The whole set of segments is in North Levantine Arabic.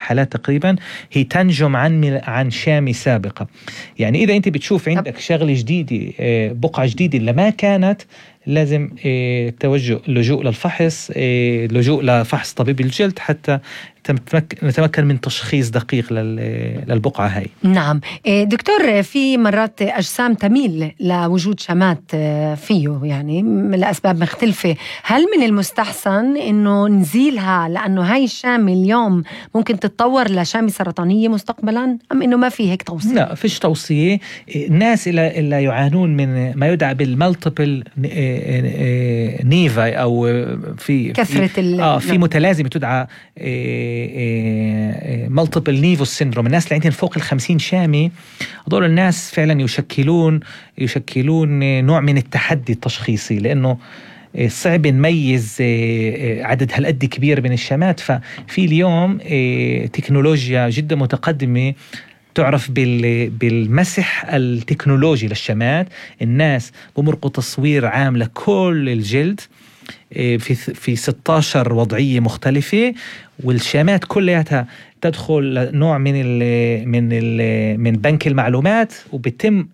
حالات تقريبا هي تنجم عن شامي سابقة. يعني إذا أنت بتشوف عندك شغلة جديدة، بقعة جديدة اللي ما كانت، لازم لجوء للفحص، لجوء لفحص طبيب الجلد حتى نتمكن من تشخيص دقيق للبقعة هاي. نعم دكتور، في مرات أجسام تميل لوجود شمات فيه يعني لأسباب مختلفة. هل من المستحسن إنه نزيلها لأنه هاي الشامة اليوم ممكن تتطور لشامة سرطانية مستقبلا، أم إنه ما في هيك توصية؟ لا، فيش توصية. الناس اللي يعانون من ما يدعى بالمالتيبل نيفاي أو في كثرة في متلازمة تدعى مالتيبل نيفوس سيندروم، الناس اللي عندهم فوق 50 شامة، هذول الناس فعلا يشكلون نوع من التحدي التشخيصي، لأنه صعب نميز عدد هالقد كبير من الشامات. ففي اليوم تكنولوجيا جدا متقدمة تعرف بالمسح التكنولوجي للشمات. الناس بمرقوا تصوير عام لكل الجلد في 16 وضعية مختلفة، والشامات كلها تدخل نوع من بنك المعلومات، وبتم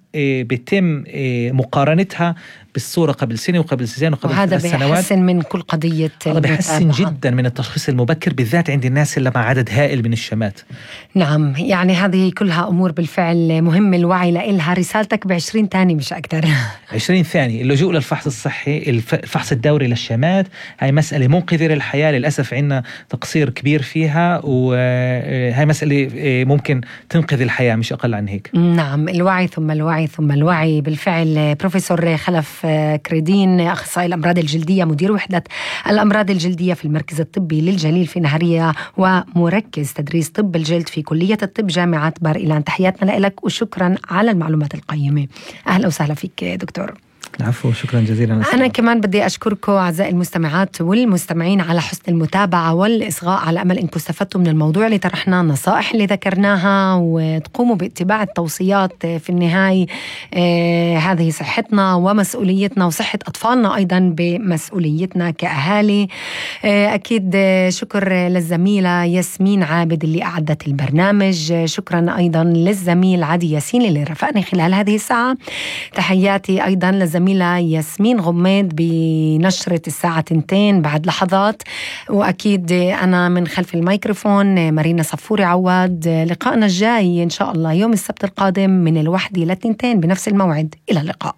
مقارنتها بالصورة قبل سنة وقبل سنتين وقبل 3 سنوات. وهذا بيحسن من كل قضية، هذا بيحسن جدا من التشخيص المبكر، بالذات عند الناس اللي مع عدد هائل من الشمات. نعم، يعني هذه كلها أمور بالفعل مهم الوعي لإلها. رسالتك ب20 ثانية مش أكتر. 20 ثانية. اللجوء للفحص الصحي، الفحص الدوري للشمات، هاي مسألة منقذة للحياة. للأسف عندنا تقصير كبير فيها، وهاي مسألة ممكن تنقذ الحياة مش أقل عن هيك. نعم، الوعي ثم الوعي ثم الوعي. بالفعل بروفيسور خلف كريدين، أخصائي الأمراض الجلدية، مدير وحدة الأمراض الجلدية في المركز الطبي للجليل في نهرية، ومركز تدريس طب الجلد في كلية الطب جامعة بار إيلان. تحياتنا لك وشكرا على المعلومات القيمة. أهلا وسهلا فيك دكتور. العفو، شكرا جزيلا. أنا كمان بدي أشكركم أعزائي المستمعات والمستمعين على حسن المتابعة والإصغاء، على أمل أنكم استفدتوا من الموضوع اللي طرحناه، النصائح اللي ذكرناها، وتقوموا باتباع التوصيات. في النهاية هذه صحتنا ومسؤوليتنا، وصحة أطفالنا أيضا بمسؤوليتنا كأهالي. أكيد شكر للزميلة ياسمين عابد اللي أعدت البرنامج. شكرا أيضا للزميل عدي ياسين اللي رافقني خلال هذه الساعة. تحياتي أيضا للزميلة ياسمين غميد بنشرة الساعة 2 بعد لحظات، وأكيد أنا من خلف الميكروفون مارينا صفوري عواد. لقائنا الجاي إن شاء الله يوم السبت القادم من 1 ل 2 بنفس الموعد. إلى اللقاء.